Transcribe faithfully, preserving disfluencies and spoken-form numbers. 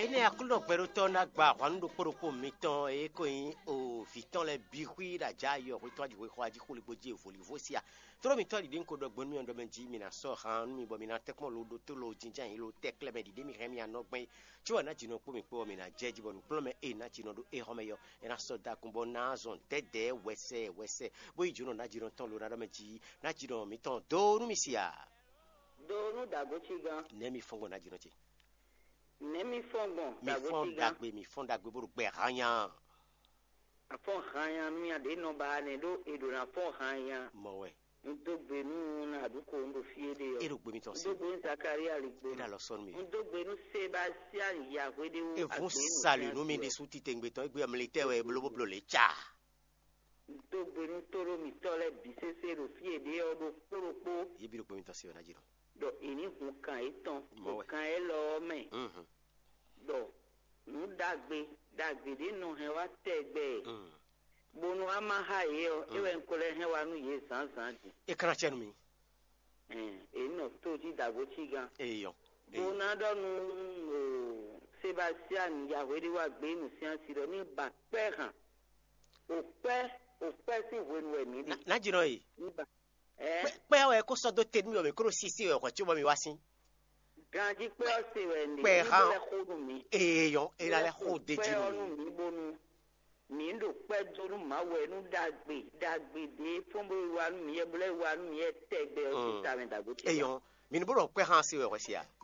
Énɛ́ Aklúnɔ gbɛɖótɔ́ ná gba ahwan nú ɖokpó ɖokpó mitɔn e ko nyí o vǐ tɔn lɛ́ɛ bǐ xwí ɖo ajǎ yɔ hwetɔ́n aji hwexɔ ají xolígbó jí vǒlivɔ́ síá. Tlóló mitɔ́ ɖiɖe un ko ɖɔ gbɔn nú miɖɔ mɛ jí mi ná sɔ́ han nú mi bɔ mi ná tɛ́nkpɔ́n lo ɖótó lo jínjɛ́n lo tɛ́ klɛ́ mɛ ɖiɖe mi hɛn mì anɔ gbɛn. Có wɛ ná jǐnɔ kpó mi kpó ɔ́, mi ná jɛ jí bɔ nǔkplɔ́nmɛ e ná jǐnɔ ɖó éhɔ́mɛ yɔ, é ná sɔ́ dó akun bɔ ná zɔn dɛ̌dɛ̌ wɛsɛ wɛsɛ, bó yi jǒnɔ ná jǐnɔ tɔn lo ná ɖɔ mɛ jí ná jǐnɔ mitɔn dó nú mi sia. Do nú dǎgó cí gán. Nɛ̌ mi fɔ́n gbɔn ná jǐnɔ ce? Nɛ̌ mi fɔ́n gbɔn? Mi dǎgó fɔ́n cí gán. Ɖagbe, mi fɔ́n ɖagbe bó ɖo gbɛ hanya. Afɔ́n hanya nú ya ɖě nɔ ba nɛ ɖó è ɖǒ ná fɔ́n hanya. Mɔ wɛ. Un dó gbe nú Naɖuko un ɖo fí éɖée ɔ́. É ɖo gbe mitɔn un dó gbe nú Zakaria ligbo. É ɖo alɔ sɔ́ nú mi. Un dó gbe nú Sebastia yahwe ɖé wú. Evun agbe nú sali nú mi ɖésú titewungbe tɔn égbé militɛ wɛ bló bó bló lě ca. Un dó gbe nú tóɖó mitɔ́ lɛ́ɛ bǐ sésé ɖo fí e ɖě ɔ́ ɖokpó ɖokpó. Yě bǐ ɖo gbe mitɔn se wɛ ná jí nɔ. Ɖɔ è ní hun kan yětɔn ɖo kan élɔ́ ɔ́ mɛ. Ɖɔ nǔ ɖagbe ɖagbe ɖě nɔ hɛn wá tɛgbɛ, bónú a ma xá yě ɔ́, é wɛ un ko lɛ́ hɛn wá nú yě zǎnzǎn din. É ka ná cɛ nú mi. È nɔ tó jí dǎgbo cí gán. Eyɔ. Bó ná ɖɔ nú Sebasiani yahweɖíwágbé nǔsyánsi ɖɔ ní ba kpɛ́ hǎn. O kpɛ́, o kpɛ́ sín hwenu wɛ mǐ ɖe. Ná jínɔ e. Ní ba. Ɛ. Kpɛ́ wɛ kó sɔ́ dó te nú mi bɔ mǐ kó ɖo sísí wɛ hwɛ̌ có bɔ mi wá sín. Ganjí kpɛ́ ɔ́ se wɛ ní Kpɛ́ ní hán. Bó lɛ́ xó nú mǐ. Eyɔ, é ná lɛ́ xó dé jí nú mi. Mǐ ɖo kpɛ́ dó nú Mawu wɛ nú ɖagbe ɖagbe ɖě fɔ́n bó wa nú mǐ yɛ bó lɛ́ wa nú mǐ yɛ tɛgbɛ ɔ́ sín tamɛ dǎgbo ce. Eyɔ, mi ní bó ɖɔ kpɛ́ xá se wɛ hwɛ se a?